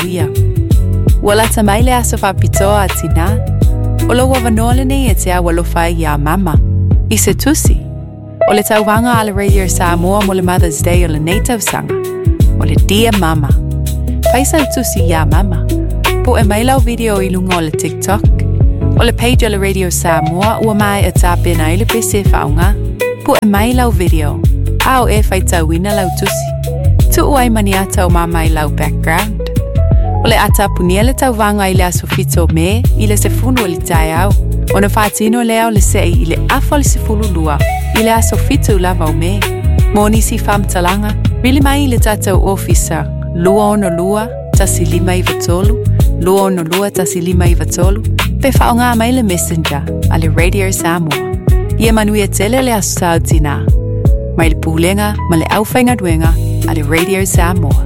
Ia. Ua lata mai le aso faapitoa a Tinā. O lou avanoa lenei e te au alofa ai iā Mama. I se tusi. O le tauvaga a le Radio Samoa mo le Mother's Day o lenei tausaga, o le Dear Mama. Fai sau tusi iā Mama. Po'e mai lau video i luga o le TikTok. O le page a le Radio Samoa ua maea tapena ai le pese e faaaoga. Po'e mai lau video, a o e faitauina lau tusi. Tuu ai ma ni ata o Mama i lau background. O le a tapunia le tauvaga i le aso 7 o Me i le 10 o le taeao, ona faatino lea o le se'i i le afa o le 12 i le aso 7 lava o Me. Mo nisi faamatalaga, vili mai i le tatou ofisa 262 1593, 262 1593, pe faaaoga mai le Messenger a le Radio Samoa. Ia manuia tele le Aso Sa o Tinā. Mai le Pulega ma le Aufaigaluega a le Radio Samoa.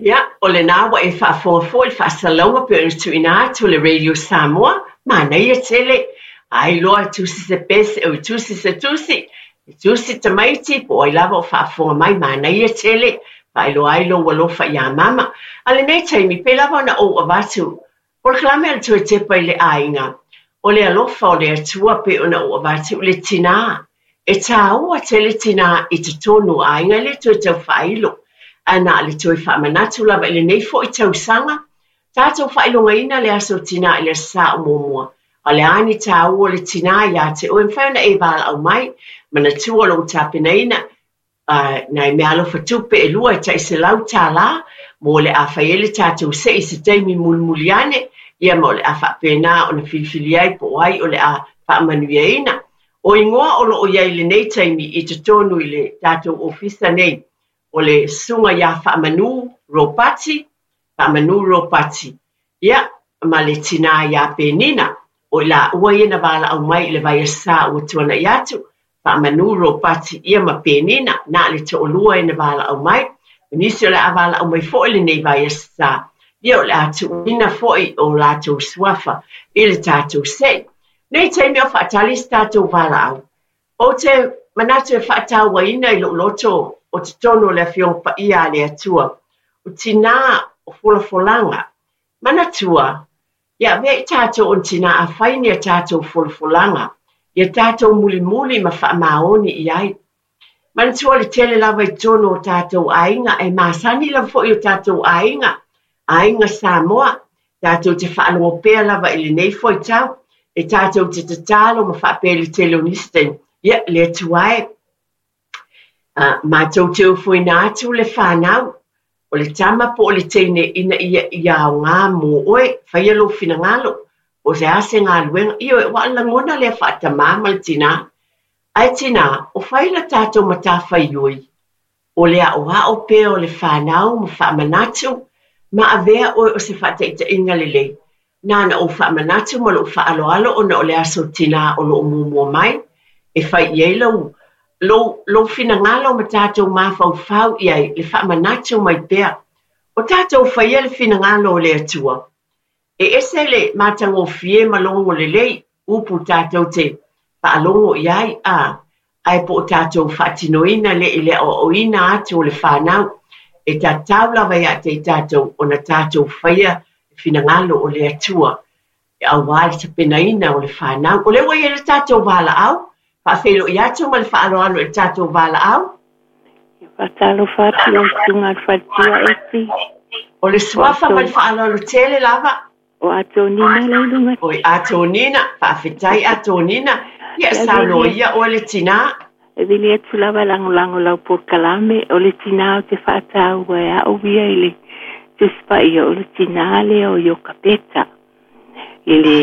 Ia, o lena ua e faafofoga foi i le faasalalauga pei ona tuuina atu e le Radio Samoa, manaia tele. Ai loa e tusi se pese, oi tusi se tusi, e tusi tamaiti po o ai lava o faafofoga mai, manaia tele, faailoa ai lou alofa iā mama. A lenei taimi, pei lava ona ou avatu Polokalame a le Toe Tepa i le Aiga, o le alofa o le Atua pei ona ou avatu i le tinā. E tāua tele tinā i totonu o aiga e le toe tau faailo, ae na o le toe faamanatu lava i lenei foi tausaga, tatou faailogaina le aso tinā i le Aso Sa o muamua. A o le a ni tāua o le tinā iā te oe, mafai ona e valaau mai, manatua lou tapenaina, nai meaalofa tupe e lua e tai $100 mo le a fai ai le tatou se'i i se taimi mulimuli ane, ia ma o le a faapena ona filifili ai po o ai o le a faamanuiaina. O igoa o lo o i ai i lenei taimi i totonu i le tatou ofisa nei, o le Susuga ia Faamanu Ropati, Faamanu Ropati, Ia, ma le tinā iā Penina, o i lāua ia na valaau mai i le vaiaso sa ua tuanaʻi atu, Faamanu Ropati ia ma Penina, na o le toʻalua e na valaau mai, ma nisi o le a valaau mai foi lenei vaiaso sa, ia o le a tuuina foi o latou suafa i le tatou seʻi. Nei taimi o faatali se tatou valaau. Ou te manatu e faatauaina i lou loto o totonu o le Afioga Paia a le Atua, o tinā o folafolaga. Manatua, ia avea i tātou o ni tinā a fai ni a tātou folafolaga, ia tātou mulimuli ma faamaoni i ai. Manatua le tele lava i totonu o tātou aiga, e masani lava foi o tātou aiga, aiga Samoa, tātou te faalogo pea lava i lenei fuaitau, e tātou te tatalo ma faapea i le tele o nisi taimi, ia, le Atua e, mātou te ofoina atu le whānau, o le tama po o le teine ina ia ia aoga mō oe, faia lou finagalo, po o se a se galuega, ioe, ua lagona lea faatamā ma le tinā. Ae tinā, o fai la tātou matawhaioi, o le aʻoaʻo pea o le whānau ma faamanatu, ma avea oe o se faataitaiga lelei. Nāna ou faamanatu ma lou faaaloalo ona o le aso tinā o loo muamua mai, e fai i ai lou, lou, lou finagalo ma tātou mafaufau i ai le faamanatu mai pea. O tātou faia le finagalo o le Atua. E ese le matagofie ma logo lelei, upu tātou te faalogo i ai, a, ae po o tātou faatinoina lea i le aoaoina atu o le whānau, e tatau lava ia te i tātou ona tātou faia le finagalo o le Atua, e auā le tapenaina o le whānau. O lea ua i ai le tātou valaau, faafeiloai atu ma le faaaloalo i le tātou valaau. Ia faatalofa atu lau susuga i le faletua Eti. O le suafa ma le faaaloalo tele lava. O Atonina la i luga. Oi Atonina, faafetai Atonina. Ia saunoa ia oe le tinā. E vili atu lava e lagolago lau polokalame, o le tinā ou te faataua e au ia i le Tusi Paia, o le tinā lea o Iokapeta, i le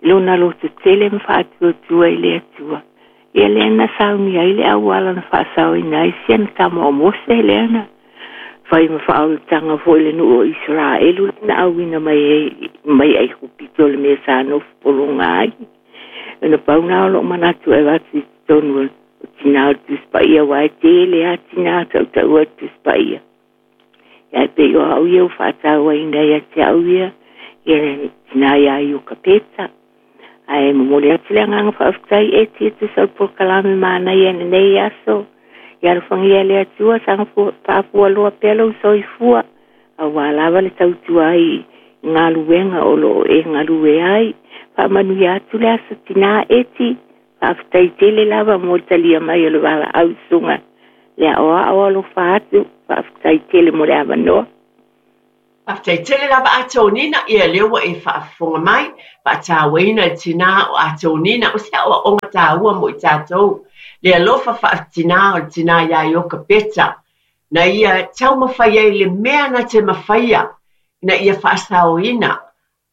lona loto tele ma faatuatua i le Atua. Ia lea na sauni ai le auala na faasaoina ai si ana tama o Mose lea na fai ma faaolataga foi le nuu o Isaraelu na auina mai ai mai Aikupito o le mea sa nofo pologa ai. Ona pau na o loo manatu e avatu i totonu o tinā o le Tusi Paia aua e tele lava tinā tautaua i le Tusi Paia. Ia e pei o au ia ua faatauaina ia te au ia, ia le tinā iā Iokapeta. Ae momoli atu le agaga faafetai e tia tusa o le polokalame manaia i lenei aso. Ia alofagia e le Atua saga faafualoa pea lou soifua, auā lava le tautua ai i galuega o lo o e galue ai. Faamanuia atu le Aso Tinā Eti. Faafetai tele lava mo le talia mai o le valaau susuga le aoao alofa atu. Faafetai tele mo le avanoa. Faafetai tele lava Atonina, ia lea ua e faafofoga mai, faatauaina le tinā o Atonina, o se aoaoga taua mo i tatou, le alofa faatinā o le tinā iā Iokapeta, na ia taumafai ai le mea na te mafaia, ina ia faasaoina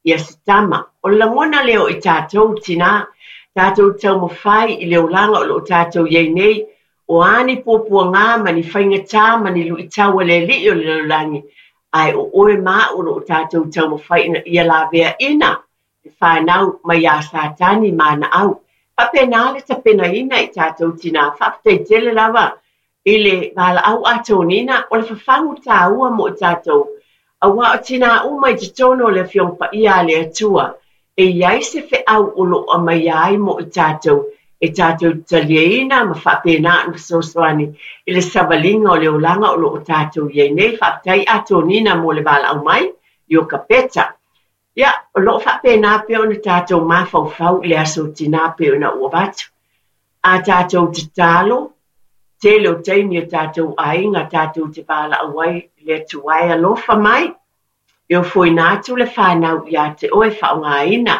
ia se tama. O le lagona lea o i tatou tinā, tatou taumafai i le olaga o lo o tatou i ai nei, o a ni puapuaga ma ni faigata ma ni luitau a le Alii o le lalolagi, ae o oe ma au o lo o tatou taumafai ina ia laveaina le fanau mai iā Satani ma ana au. Faapena le tapenaina i tatou tinā. Faafetai tele lava i le valaau Atonina, o le fafagu taua mo i tatou, auā o tinā uma i totonu o le Afioga Paia a le Atua, e i ai se feau o lo o aumaia ai mo i tatou, e tatou te taliaina ma faapena ona fesoasoani i le savaliga o le olaga o lo o tatou i ai nei. Faafetai Atonina mo le valaau mai, Iokapeta. Ia, o lo o faapena pea ona tatou mafaufau i le aso tinā pei ona ou avatu. A tatou tatalo, tele o taimi o tatou aiga tatou te valaau ai i le Atua e alofa mai, e ofoina atu le fanau ia te oe faaaogaina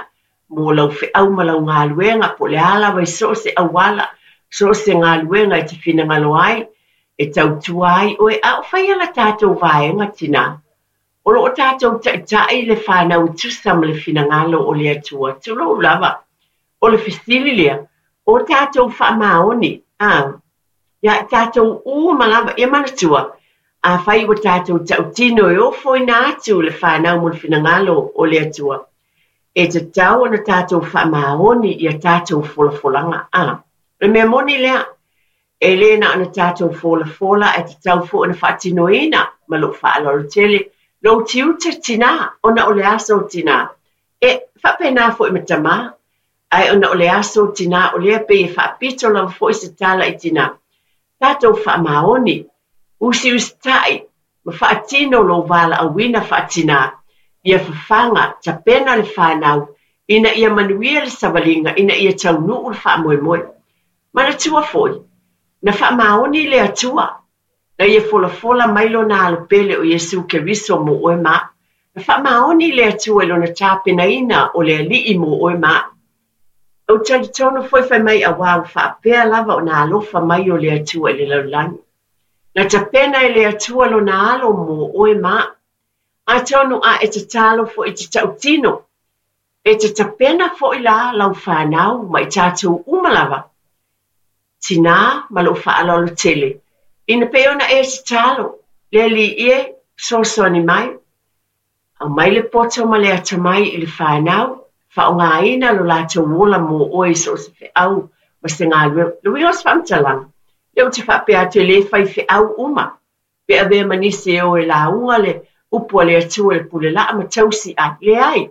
mo lau feau ma lau galuega po o le a lava i so o se auala, so o se galuega e te finagalo ai, e tautua ai oe, a o faia la tatou vaega tinā. O lo o tatou taitai le fanau e tusa ma le finagalo o le Atua. Tulou lava. O le fesili lea, o tatou faamaoni, a, ia i tatou uma lava, ia manatua, afai ua tatou tautino e ofoina atu le fanau mo le finagalo o le Atua, e tatau ona tatou faamaoni i a tatou folafolaga, a. O le mea moni lea, e le na ona tatou folafola ae tatau foi ona faatinoina ma lou faaaloalo tele lou tiute tinā, ona o le aso tinā. E faapena foi ma tamā, ae ona o le aso tinā o lea pei e faapito lava foi se tala i tinā. Tatou faamaoni, usiusitai ma faatino lou valaauina faatinā, ia fafaga, tapena le fanau ina ia manuia le savaliga ina ia taunuu le faamoemoe. Manatua foi, na faamaoni le Atua na ia folafola mai lona Alo pele o Iesu Keriso mo oe ma au. Na faamaoni le Atua i lona tapenaina o le Alii mo oe ma au. Ou te talitonu foi fai mai auā ua faapea lava ona alofa mai o le Atua i le lalolagi. Na tapena e le Atua lona Alo mo oe ma au. Atonu a e tatalo foi i te tautino, e te tapena foi la lau fanau ma i tatou uma lava. Tinā ma lou faaaloalo tele, ina pei ona e tatalo, le Alii e, fesoasoani mai. Aumai le poto ma le atamai i le fanau, faaaogaina lo latou ola mo oe i so o se feau ma se galuega. Le uiga o se faamatalaga, lea ou te faapea atu e le fai feau uma, pe avea ma nisi e o e lauga le upu a le Atua i le pule laa ma tausi ai. Leai,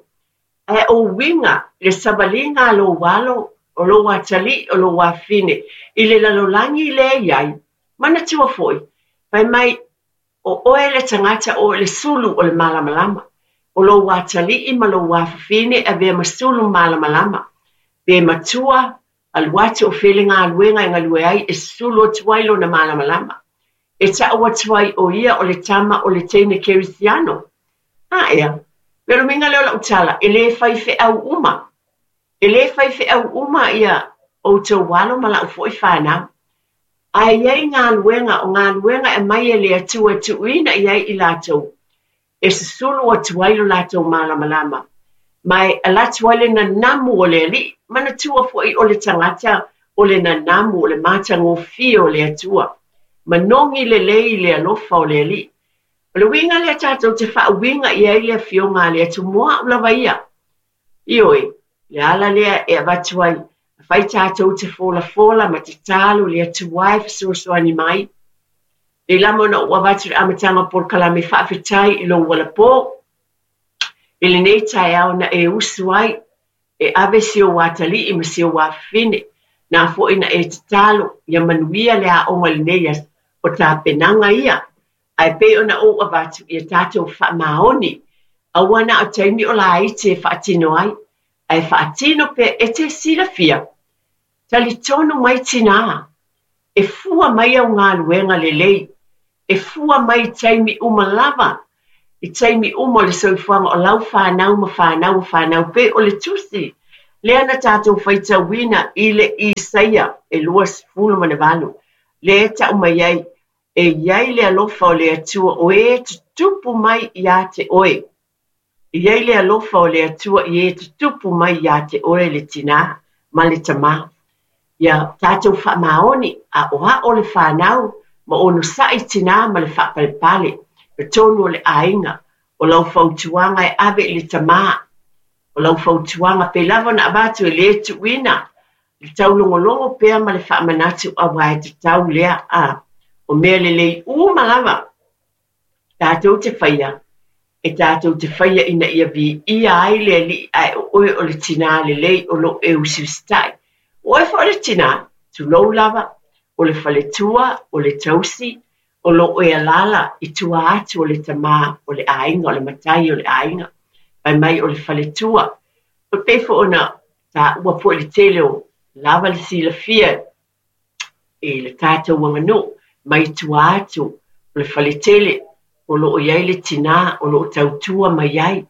ae o uiga le savaliga a lou alo, o lou atalii, o lou afafine i le lalolagi lea e i ai. Manatua foi, fai mai, o oe le tagata o oe le sulu o le malamalama. O lou atalii ma lou afafine e avea ma sulu malamalama. Pe matua, alu atu o fea le galuega e galue ai e sulu atu ai lona malamalama. E tau atu ai o ia o le tama o le teine kerisiano. A ea, me le uiga lea o lau tala, e le fai feau uma. E le fai feau uma ia outou alo ma lau foi fanau. Ae i ai galuega, o galuega e aumai e le Atua e tuuina i ai i latou, e susulu atu ai lo latou malamalama, ma e alu atu ai le nanamu o le Alii. Manatua foi o le tagata o le nanamu o le matagofie o le Atua, manogi lelei i le alofa o le Alii. O le uiga lea tatou te faauiga i ai le Afioga a le Atua mo au lava ia. Ioe, le ala lea e avatu ai, afai tatou te folafola ma tatalo i le Atua e fesoasoani mai. Nei lava ona ou avatu i le amataga o polokalame faafetai i lou alapō, i lenei taeao na e usu ai, e ave si ou atalii ma si ou afafine, na foi na e tatalo ia manuia le aoga i lenei aso. O tapenaga ia, ae pei ona ou avatu ia tatou faamaoni, aua na o taimi o laiti e faatino ai, ae faatino pea e te silafia. Talitonu mai tinā, e fua mai au galuega lelei, e fua mai i taimi uma lava, i taimi uma o le soifuaga o lau fanau ma fanau o fanau, pei o le tusi lea na tatou faitauina i le Isaia e 28, lea e tau mai ai, E i ai le alofa o le Atua o e tutupu mai iā te oe. E i ai le alofa o le Atua i e tutupu mai iā te oe le tinā ma le tamā. Ia tatou faamaoni, aʻoaʻo le fanau ma onosai tinā ma le faapalepale i totonu o le aiga. O lau fautuaga e ave i le tamā, o lau fautuaga pei lava ona avatu e le tuuina le taulogologo pea ma le faamanatu aua e tatau lea a o mea lelei uma lava tatou te faia e tatou te faia ina ia viia ai le Alii ae o oe o le tinā lelei o lo o e usiusitai. O oe foi o le tinā, tulou lava, o le faletua, o le tausi, o lo o e alaala i tua atu o le tamā o le aiga, o le matai o le aiga, fai mai o le faletua. E pei foi ona taua foi le tele o lava le silafia i le tatou aganuu mai tua atu o le faletele o lo o i ai le tinā o lo o tautua mai ai,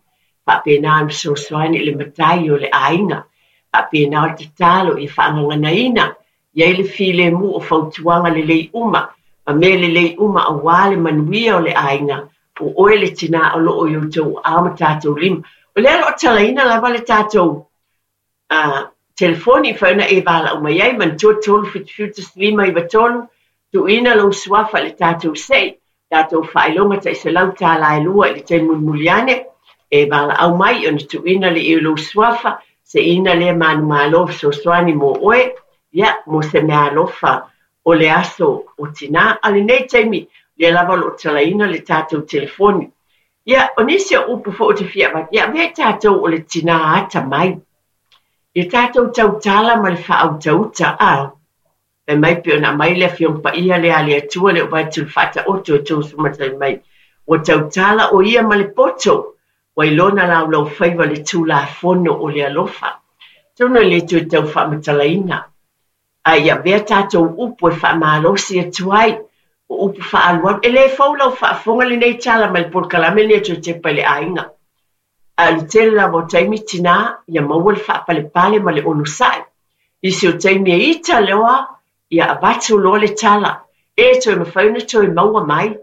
faapena ona fesoasoani i le matai o le aiga, faapena o le tatalo ia faagaganaina i ai le filemu o fautuaga lelei uma ma mea lelei uma aua le manuia o le aiga, o oe le tinā o lo o i outou aao ma tatou lima. O lea o lo o talaina lava le tatou a telefoni i mafai ona e valaau mai ai, manatua 3 7 7 1 5 9 3, tuuina lou suafa i le tatou sei, tatou faailoga tai $100 e lua i le taimi mulimuli ane, e valaau mai ona tuuina lea i lou suafa, seiina lea manumalo fesoasoani mo oe, ia, mo se meaalofa o le aso o tinā. A o lenei taimi, lea lava o lo o talaina le tatou telefoni. Ia, o nisi o upu foi ou te fia avatu, ia avea tatou o le tinā atamai. Ia tatou tautala ma le faautauta, a fai mai pei ona aumai le Afioga Paia lea a le Atua le vaai atu i le Faataoto e tosumatai mai. Ua tautala o ia ma le poto, ua i lona laulaufaiva le Tulafono o le alofa. Atonu e le toe tau faamatalaina, a i avea tatou upu e faamalosi atu ai, o upu faaalualu. E le fou lau faafofoga lenei tala mai le polokalame lenei a Toe Tepa i le Aiga. Ae o le tele lava o taimi tinā ia maua le faapalepale ma le onosai. Nisi o taimi e ita loa ia avatu loa le tala, e toe mafai ona toe maua mai.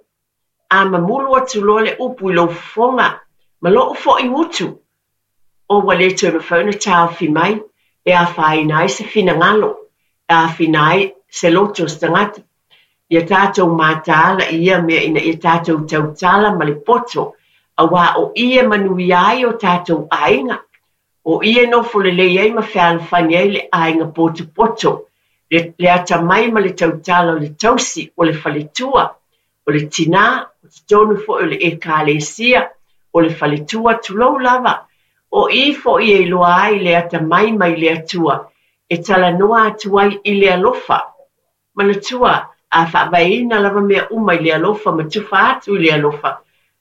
A mamulu atu loa le upu i lou fofoga ma lou foi gutu, o ua le toe mafai ona taofi mai e afaina ai se finagalo, e aafina ai se loto o se tagata. Ia tatou mataala i ia mea ina ia tatou tautala ma le poto, aua o i e manuia ai o tatou aiga, o i e nofo lelei ai ma fealofani ai le aiga potopoto, le, le atamai ma le tautala o le tausi, o le faletua, o le tinā, o totonu foi o le Ekalesia, o le faletua, tulou lava. O i foi e iloa ai le atamai mai le Atua e talanoa atu ai i le alofa. Manatua, a faavaeina lava mea uma i le alofa ma tufa atu i le alofa,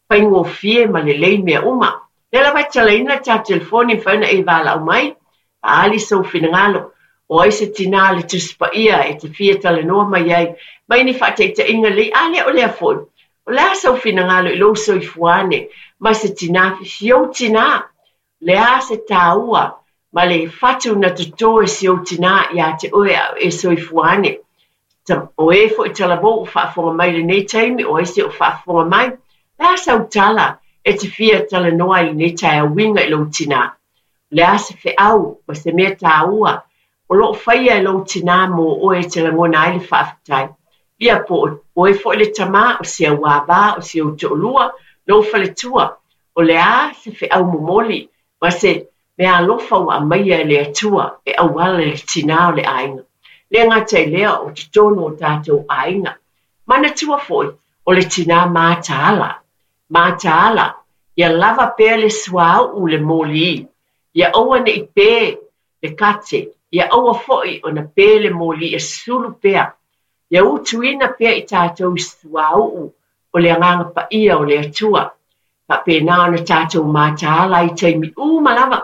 faigofie ma lelei mea uma. Lea lava e talaina le tatou telefoni e mafai ona e valaau mai, faaali sou finagalo. O ai se tinā le Tusi Paia e te fia talanoa mai ai, mai ni faataitaiga lelei, a le o lea foi. O le a sou finagalo i lou soifua ane ma se tinā, si ou tinā, le a se tāua ma le fatu na totō e si ou tinā iā te oe a o e soifua ane. O e foi talavou o faafofoga mai i lenei taimi, o ai se o faafofoga mai, le a sau tala e te fia talanoa ai i lenei taeao uiga i lou tinā? O le a se feau ma se mea tāua o lo o faia e lou tinā mō oe e te lagona ai le faafetai? Ia po o oe foi le tamā, o si au āvā, o si ou toalua, lou faletua, o le a se feau momoli ma se mea alofa ua aumaia e le Atua e auala i le tinā o le aiga. Le gata i lea o totonu o tatou aiga. Manatua foi, o le tinā mataala. Mataala, ia lava pea le suauu le moli, ia aua ne i pē le kate, ia aua foi ona pē le moli ia sulu pea. Ia utuina pea i tatou i suauu o le Agaga Paia o le Atua, faapena ona tatou mataala ai i taimi uma lava,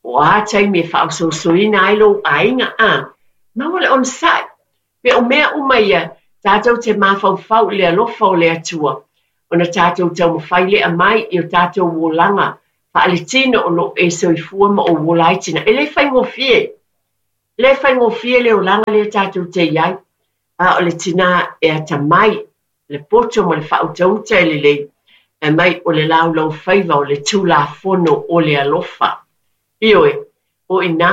po o a taimi e faaosoosoina ai lou aiga, a maua le onosai. Pe o mea uma ia, tatou te mafaufau i le alofa o le Atua, ona tatou taumafai lea mai i o tatou olaga faaletino o lo o e soifua ma ou ola ai tina. E le faigofie, e le faigofie le olaga lea tatou te i ai, a o le tinā e atamai, le poto ma le faautauta e lelei, fai mai o le laulaufaiva o le Tulafono o le alofa. Ioe, o i inā,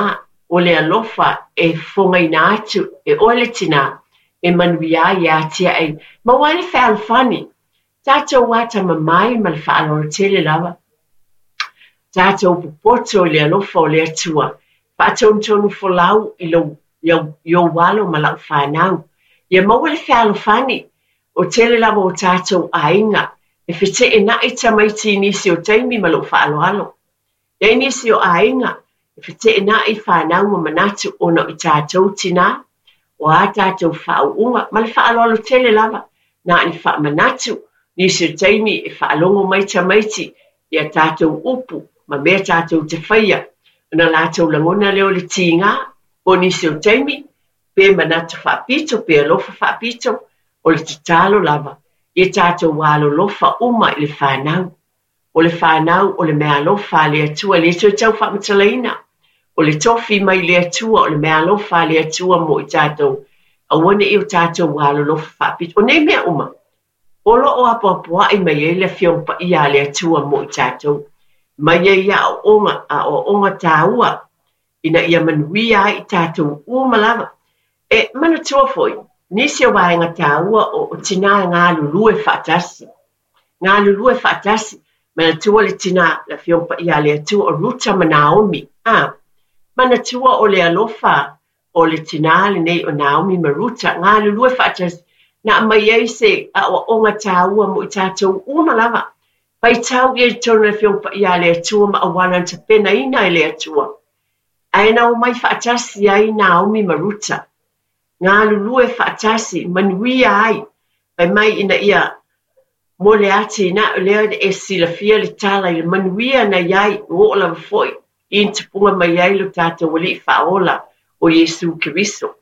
o le alofa e fofogaina atu e oe le tinā, e manuia ai, e atiae ai, maua ai le fealofani. Tatou atamamai ma le faaaloalo tele lava. Tatou popoto i le alofa o le Atua, faatonutonu folau i lou i ou alo ma lau fanau. Ia maua le fealofani, o tele lava o tatou aiga e feteenai tamaiti i nisi o taimi ma lou faaaloalo. E i ai nisi o aiga e feteenai fanau ma manatu ona o i tatou tinā, o a tatou faauuga ma le faaaloalo tele lava, na o ni faamanatu, nisi o taimi e faalogo mai tamaiti i a tatou upu ma mea tatou te faia, ona latou lagona lea o le tiga, o nisi o taimi, pe manatu faapito, pe alofa faapito, o le tatalo lava, ia tatou alolofa uma i le fanau. O le fanau o le meaalofa a le Atua, e le toe tau faamatalaina. O le tofi mai le Atua, o le meaalofa a le Atua mo i tatou, aua ne i o tatou alolofa faapito. O nei mea uma, o lo o apoapoai mai ai le Afioga Paia a le Atua mo i tatou. Mai ai aoaoga, aoaoga taua, ina ia manuia ai i tatou uma lava. E manatua foi, nisi o vaega taua o tinā e galulue faatasi. Galulue faatasi, manatua le tinā, le Afioga Paia a le Atua, o Ruta ma Naomi. A, manatua o le alofa o le tinā lenei o Naomi ma Ruta, galulue faatasi, na aumai ai se aoaoga taua mo i tatou uma lava. Faitau ia i totonu o le Afioga Paia a le Atua ma auala na tapenaina e le Atua. Ae na omai faatasi ai Naomi ma Ruta, galulue faatasi, manuia ai, fai mai ina ia mo le atinae lea e silafia le tala i le manuia na i ai, ua oo lava foi i tupuga mai ai lo tatou Alii Faaola o Iesu Keriso.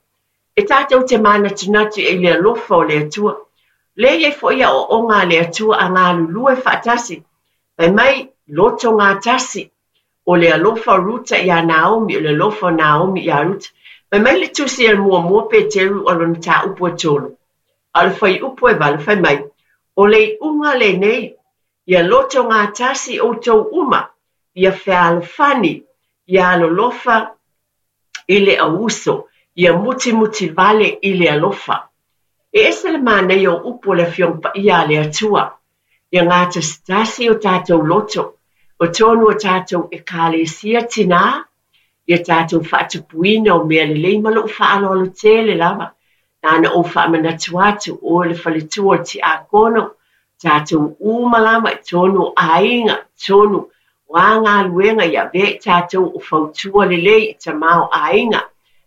E tatou te manatunatu i le alofa o le Atua. Lea e i ai foi aoaoga a le Atua a galulue faatasi, fai mai, loto gatasi, o le alofa o Ruta iā Naomi, o le alofa o Naomi iā Ruta. Fai mai le tusi a le muamua Peteru o lona mataupu e tolu, a o le fuaiupu e valu, fai mai, O le iuga lenei, ia loto gatasi outou uma, ia fealofani, ia alolofa i le auuso, ia mutimuti vale i le alofa. E ese le manaia o upu o le Afioga Paia a le Atua, ia gatasitasi o tatou loto, o tonu o tatou Ekalesia tinā, ia tatou faatupuina o mea lelei ma lou faaaloalo tele lava. Na ona ou faamanatu atu, o le faletua o le tiakono, tatou uma lava i totonu o aiga, totonu o a galuega ia avea i tatou o fautua lelei i tama o aiga,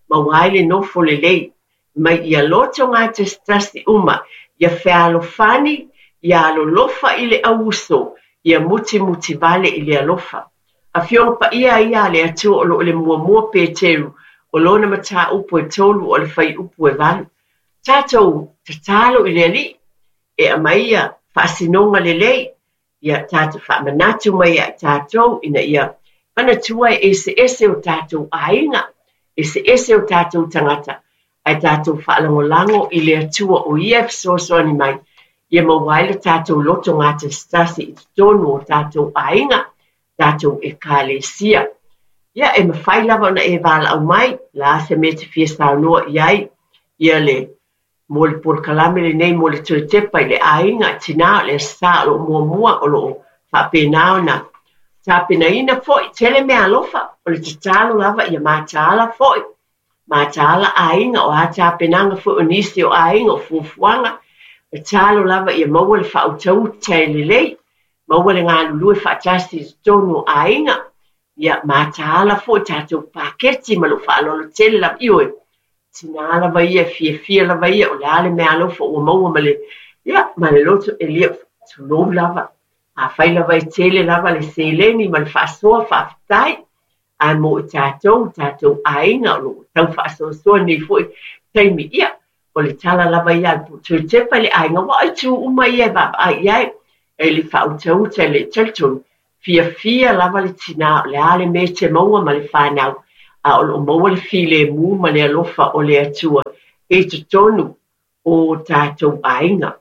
maua ai le nofo lelei. Mai ia loto gatasitasi uma, ia fealofani, ia alolofa i le auuso, ia mutimuti vale i le alofa. Afioga Paia ia a le Atua o lo o le muamua Peteru, o lona mataupu e tolu o le fuaiupu e valu. Tatou tatalo i le Alii e aumai ia faasinoga lelei, ia tatou faamanatu mai ia i tatou ina ia manatua e eseese o tatou aiga, eseese o tatou tagata, ae tatou faalagolago i le Atua o Ia e fesoasoani mai, ia maua ai le tatou loto gatasitasi i totonu o tatou aiga, tatou Ekalesia. Ia, e mafai lava ona e valaau mai, la se mea e te fia saunoa i ai, ia le mo le polokalame lenei mo le toe tepa i le aiga, tinā o le Aso Sa o lo o muamua o lo o faapena ona tapenaina foi, tele meaalofa, o le tatalo lava ia mataala foi, mataala aiga, o a tapenaga foi o nisi o aiga, o fuafuaga, tatalo lava ia maua le faautauta e lelei, maua le galulue faatasi i totonu o aiga, ia mataala foi tatou paketi ma lou faaaloalo tele lava. Ioe, Tinā lava ia, fiafia lava ia, o le a le meaalofa ua maua ma le, ia, ma le loto e lia, tulou lava. Afai lava e tele lava le seleni ma le faasoa faafetai, ae mo i tatou, tatou aiga o lo o tau faasoasoa nei foi taimi, ia, o le tala lava ia a le toe tepa i le aiga, aua o itu uma ia e vaavaai i ai, e le faautauta e le talitonu, fiafia lava le tinā o le a le mea e te maua ma le fanau, a o lo o maua le filemu ma le alofa o le Atua i totonu o tatou aiga.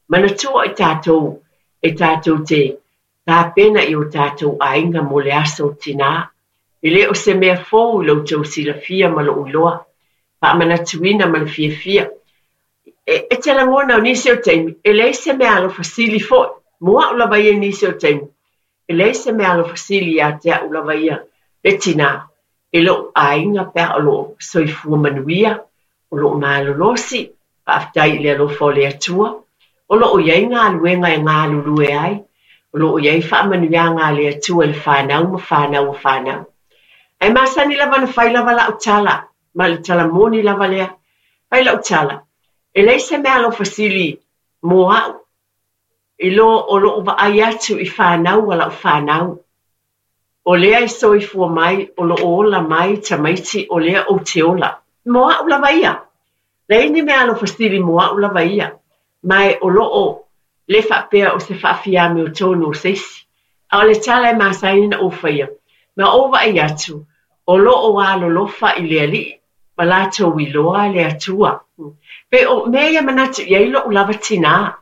Manatua i tatou e tatou te tapena i o tatou aiga mo le aso tinā. E le o se mea fou i lo outou silafia ma lou iloa, faamanatuina ma le fiafia. E te lagona o nisi o taimi, e leai se meaalofa sili foi. Mo a'u lava ia i nisi o taimi, e leai se meaalofa sili ia te a'u lava ia le tinā i lo'u aiga pe a o lo'o soifua manuia, o lo'o malolosi, faafetai i le alofa o le Atua, o lo'o i ai galuega e galulue ai, o lo'o i ai faamanuiaga a le Atua i le fanau ma fanau a fanau. Ae masani lava ona fai lava la'u tala, ma le tala moni lava lea. Fai la'u tala, e leai se meaalofa sili mo a'u i lo o lo'u vaai atu i fanau a la'u fanau. O lea e soifua mai, o lo'o ola mai tamaiti, o lea ou te ola. Mo a'u lava ia. Leai ni meaalofa sili mo a'u lava ia. Ma e o lo'o le faapea o se faafiamiotonu o se isi. A o le tala e masani ona ou faia, ma ou vaai atu, o lo'o alolofa i le Alii, ma latou iloa le Atua. Pe o mea ia manatu i ai lo'u lava tinā,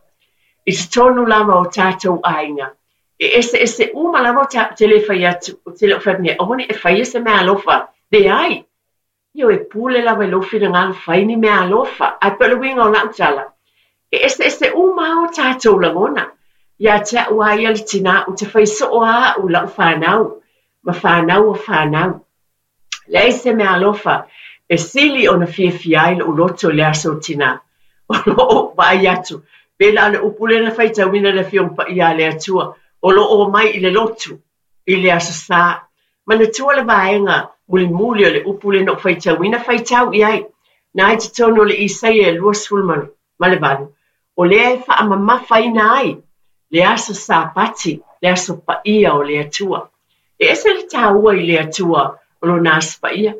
i totonu lava o tatou aiga, e eseese uma lava o ta, ou te le fai atu, ou te le o fai atu nei, aua ne i e faia se meaalofa. Leai! Ioe, pule lava i lou finagalo fai ni meaalofa. Ae pei o le uiga o la'u tala, e eseese uma lava o tatou lagona. Ia te a'u lava ia le tinā, ou te fai soo lava a'u i la'u fanau, ma fanau a fanau. Leai se meaalofa e sili ona fiafia ai lo'u loto i le aso o tinā. O lo o vaai atu, pei la o le upu lea na faitauina e le Afioga Paia a le Atua, o lo o omai i le lotu i le Aso Sa. Manatua le vaega mulimuli o le upu lea na ou faitauina, faitau i ai, na i totonu o le Isaia e 28, o lea e faamamafaina ai le aso Sapati, le aso paia o le Atua. E ese le taua i le Atua o lona aso paia.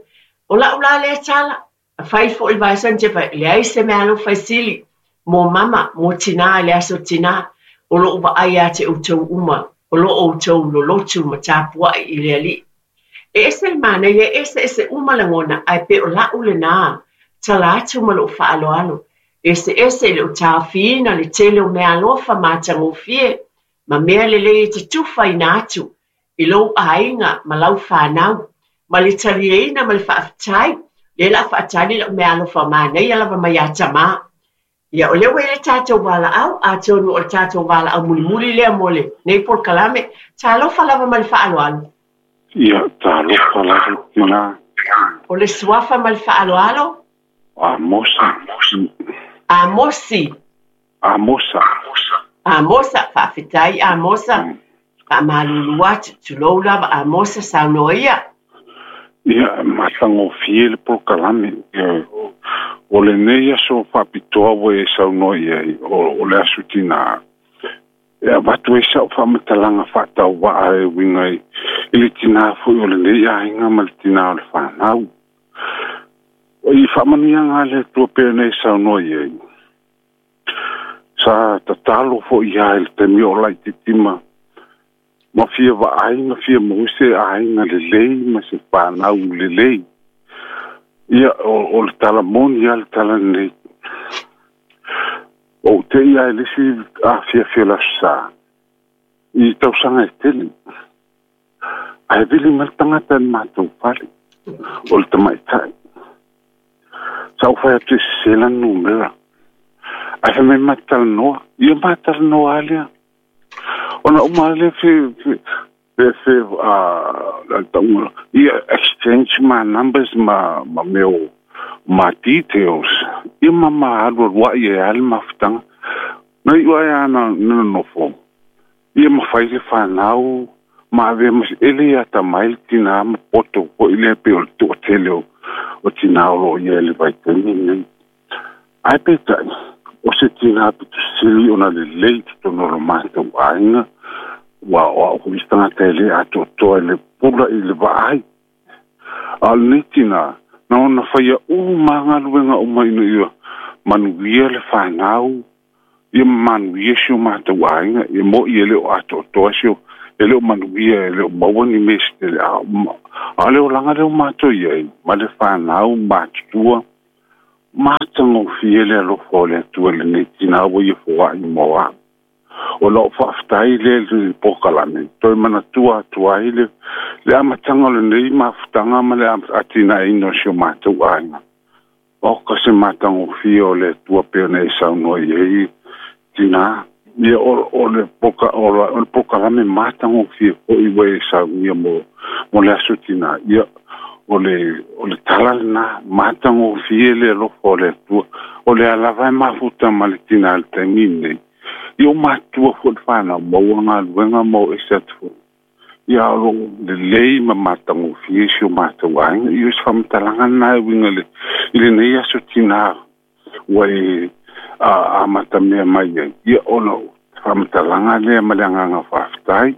O la'u la lea tala, a fai foi le vaesani te fai, leai se meaalofa e sili mo mama, mo tinā i le aso tinā, o lo'u vaai ia te outou uma, o lo outou lolotu ma tapua'i i le Alii. E ese le manaia, e eseese uma lagona, ae pei o la'u lenā tala atu ma lo'u faaaloalo, eseese i lo'u taofiina le tele o meaalofa matagofie ma mea lelei e te tufaina atu i lou aiga ma lau fanau, ma le talieina ma le faafetai, lea la faatali la'u meaalofa manaia lava mai ia tamā. Ia, o lea ua i ai le tatou valaau, atonu o le tatou valaau mulimuli lea mo lenei polokalame. Talofa lava ma le faaaloalo. Ia, talofa lava tinā. O le suafa ma le faaaloalo? Amosa. Amosi. Amosa. Amosa, faafetai Amosa. Faamalulu atu, tulou lava Amosa, saunoa ia. Ia, matagofie le polokalame. O lenei aso faapitoa ua e saunoa i ai, o le aso tinā, e avatu ai sa'u faamatalaga faatauvaa e uiga i le tinā foi o lenei aiga ma le tinā o le fanau. I faamanuiaga a le Atua pei ona e saunoa i ai, sa tatalo foi lava i le taimi o laitiiti ma ma fia vaai ma fia maua se aiga lelei ma se fanau lelei. Ia, o le tala moni lava le tala lenei. Ou te i lava i le isi afiafi o le Aso Sa, i tausaga e tele, ae vili mai le tagata i le matou fale, o le tamaitai. Sa ou fai atu e sese lana numera. Ae fai mai ma talanoa. Ia ma talanoa lava lea. Ona uma lea fe fe fe a tauga ia exchange ma numbers ma ma mea o ma details. Ia ma ma alualu ai e lava le mafutaga. Na iu ae lava na nonofo. Ia ma fai le fanau ma avea ma e le atamai le tinā ma poto foi lea pei o le toatele o o tinā o loo i ai i le vaitaimi lenei. Ae peitai, o se tinā pito sili ona lelei i totonu o lo matou aiga, ua o a'u foi se tagata e lē atoatoa i le pula i le vaai. A o lenei tinā, na ona faia uma lava galuega uma ina ia manuia le fanau, ia manuia si o matou aiga. Ia mo'i e le o atoatoa si o, e le o manuia, e le o maua ni mea se tele, a o le olaga lea ua matou i ai ma le fanau matutua, matagofie le alofa o le Atua i lenei tinā ua ia foai mo a'u. O lau faafetai lea i le polokalame, toe manatua atu ai le amataga o lenei mafutaga ma le atinaeina o si o matou aiga. Oka se matagofie o le Atua pei ona e saunoa i ai tinā. Ia o le polokalame matagofie foi ua e saunia mo le aso tinā. Ia o le tala lena, matagofie le alofa o le Atua. O lea lava e mafuta ma le tinā i le taimi lenei. Ia ua matutua foi le fanau, maua galuega ma o ese atu foi. Ia o loo lelei ma matagofie si o matou aiga. Ia o se faamatalaga lena e uiga i lenei aso tinā ua e amatamea mai ai. Ia o lau faamatalaga lea ma le agaga faafetai.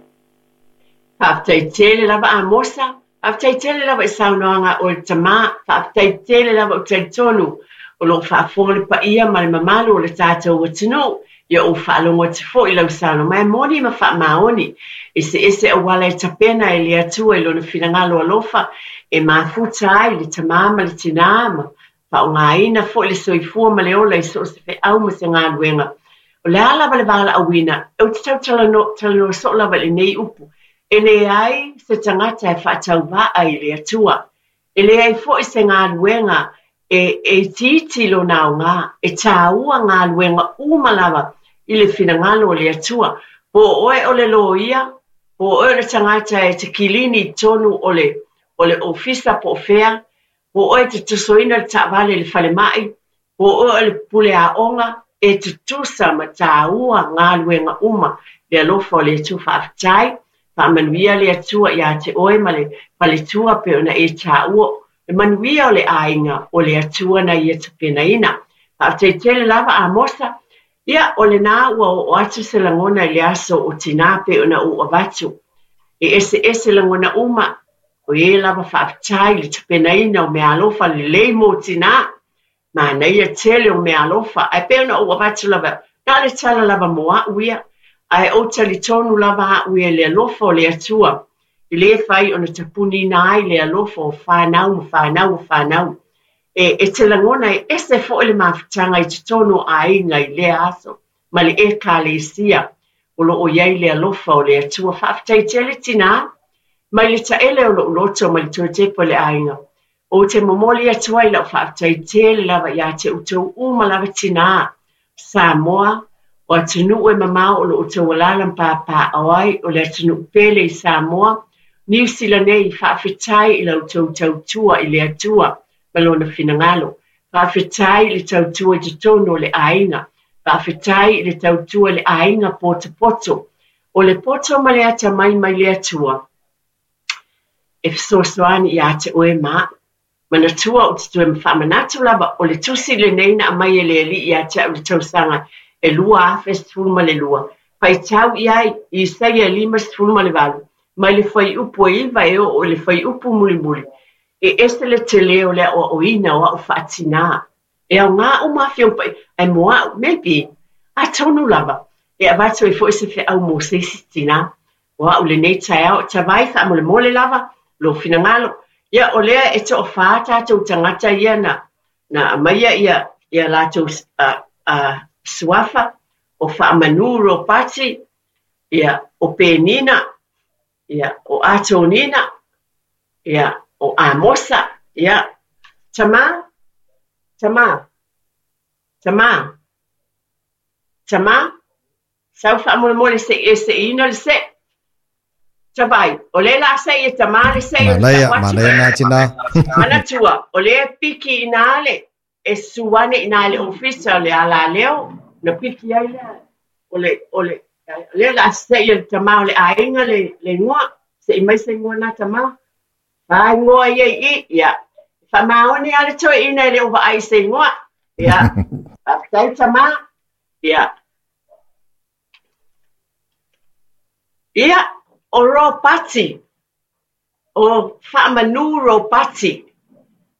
Faafetai tele lava Amosa, faafetai tele lava i saunoaga o le tamā, faafetai tele lava o talitonu o loo faafofoga le paia ma le mamalu o le tatou atunuu. Ia ou faalogo atu foi i lau saunoaga mai moni ma faamaoni, eseese auala e tapena e le Atua i lona finagalo alofa e mafuta ai le tamā ma le tinā ma faaaogaina foi le soifua ma le ola i so o se feau ma se galuega. O le a lava le valaauina, ou te tautalanoa soo lava i lenei upu, e leai se tagata e faatauvaa i le Atua. E leai foi se galuega e itiiti lona aoga, e tāua galuega uma lava i le finagalo o le Atua. Po o oe o le loia, po o oe o le tagata e te kilini i totonu o le ofisa po o fea, po o oe te tosoina le taavale i le falemai, po o oe o le pule aoga, e tutusa ma tāua galuega uma le alofa o le Atua. Faafetai, faamanuia le Atua ia te oe ma le faletua pei ona e tāua le manuia o le aiga o le Atua na ia tapenaina. Faafetai tele lava Amosa. Ia o lena ua oo atu se lagona i le aso o tinā pei ona ou avatu. E eseese lagona uma, o e lava faafetai i le tapenaina o meaalofa lelei mo tinā. Manaia tele o meaalofa, ae pei ona ou avatu lava, na o le tala lava mo a'u ia, ae ou talitonu lava a'u ia i le alofa o le Atua, i le fai ona tapunina ai le alofa o fanau ma fanau o fanau. E te lagona e ese foi le mafutaga i totonu o aiga i lea aso, ma le ekalesia o loo i ai le alofa o le Atua. Faafetai tele tinā, mai le taele o lou loto ma le toe tepa o le aiga. Ou te momoli atu ai lau faafetai tele lava ia te outou uma lava tinā, Samoa, o atunuu e mamao o loo outou alaala ma papaaao ai, o le atunuu pele i Samoa, Niu Sila nei, faafetai i la outou tautua i le Atua ma lona finagalo. Faafetai i le tautua i totonu o le aiga. Faafetai i le tautua i le aiga potopoto. O le poto ma le atamai mai le Atua, e fesoasoani ia te oe ma a'u. Manatua ou te toe faamanatu lava o le tusi lenei na aumai e le Alii ia te a'u i le tausaga e 2012. Faitau i ai i Isaia 58, mai le fuaiupu e 9 e oo i le fuaiupu mulimuli. E ese le tele o le aoaoina o a'u faatinā. E aoga uma afioga paia, ae mo a'u, maybe, atonu lava, e avatu ai foi se feau mo se isi tinā. O a'u lenei taeao, tavai faamolemole lava, lou finagalo. Ia o lea e toafā tatou tagata ia na aumaia ia latou suafa, o Faamanu Ropati, ia o Penina, ia o Atonina, ia o Amosa, ia tamā, tamā, tamā, tamā, sau faamolemole se i e seʻiina le seʻe. Tavai, o lea la seʻi e tamā le seʻi o le Manaia, tau atu. manaia nā tinā. Manatua, o lea e piki i nā le, e susu ane i nā le ofisa o le alaleo, na piki ai lea, o le, o le, lea la seʻi e le tamā o le aiga le igoa, seʻi mai se igoa nā tamā. Whāingoa ia i i, ia. Faamaoni lava le toeaina e le o vaai i se igoa. Ia, faafetai tamā. Ia. Ia, o Ropati, o Faamanu Ropati,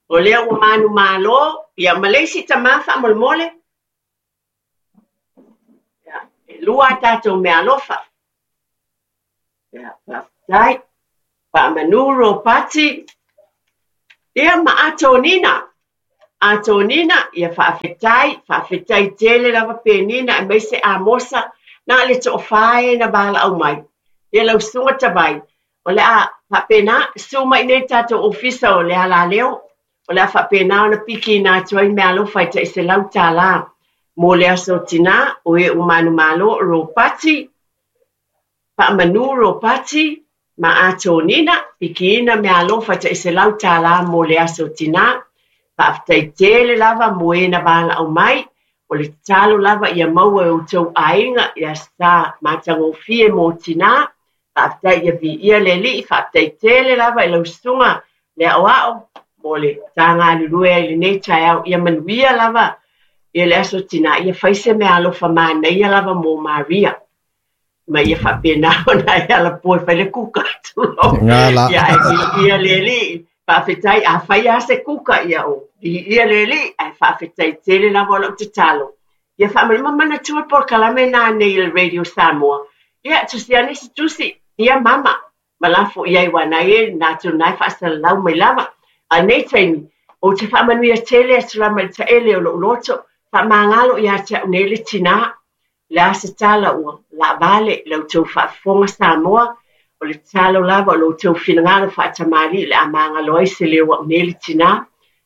o lea ua manumalo, ia ma le isi tamā faamolemole. Ia, e lua a tatou meaalofa. Ia, faafetai. Faamanu Ropati, ia ma Atonina. Atonina, ia faafetai, faafetai tele lava Penina aemaise Amosa, na le toafā e na valaau mai. Ia lau susuga Tavai, o le a faapena, susu mai nei le tatou ofisa o le alaleo, o le a faapena ona pikiina atu ai meaalofa e tai $100 mo le aso tinā, o e ua manumalo, Ropati, Faamanu Ropati, ma Atonina, pikiina meaalofa e tai $100 mo le aso tinā. Faafetai tele lava mo e na valaau mai, o le tatalo lava ia maua e outou aiga ia sa matagofie mo tinā. Faafetai ia viia le Alii, faafetai tele lava i lau susuga le aoao mo le ta galulue ai i lenei taeao. Ia manuia lava ia le aso tinā, ia fai se meaalofa manaia lava mo Maria. Ma ia faapena ona e alapoe fai le kuka tulou. Ngā la. Ia ae viia le Alii, faafetai afai lava se kuka ia o viia le Alii, ae faafetai tele lava o lau tatalo. Ia faamalima manatua le polokalame na nei i le Radio Samoa. Ia tusi ane se tusi, ia mama, ma lafo i ai aua na e na tou na e faasalalau mai lava. A o lenei taimi, ou te faamanuia tele atu lava i le taele o lou loto, faamagalo ia te au nei le tinā. O le a se tala ua laavale i la outou faafofoga Samoa, o le tatalo lava o lo outou finagalo faatamalii o le a magalo ai se leo au nei le tinā.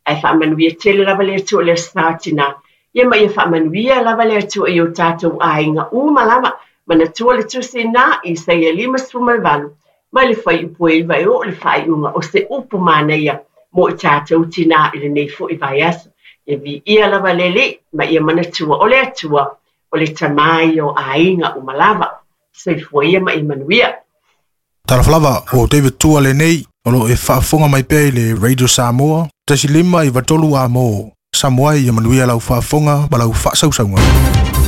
Ae faamanuia tele lava le Atua i le Aso Sa o Tinā. Ia ma ia faamanuia lava le Atua i o tatou aiga uma lava. Manatua le tusi na, Isaia 58, mai le fuaiupu e 9 e oo i le faaiuga o se upu manaia mo i tatou tinā i lenei foi vaiaso. Ia viia lava le Alii ma ia manatua o le Atua o le Tamā ia o aiga uma lava. Soifua ia ma ia manuia. Talofa lava, o David Tua lenei, o lo o e faafofoga mai pea i le Radio Samoa, 1 5 9 3 A mo Samoa ia manuia lau faafofoga ma lau faasausauga.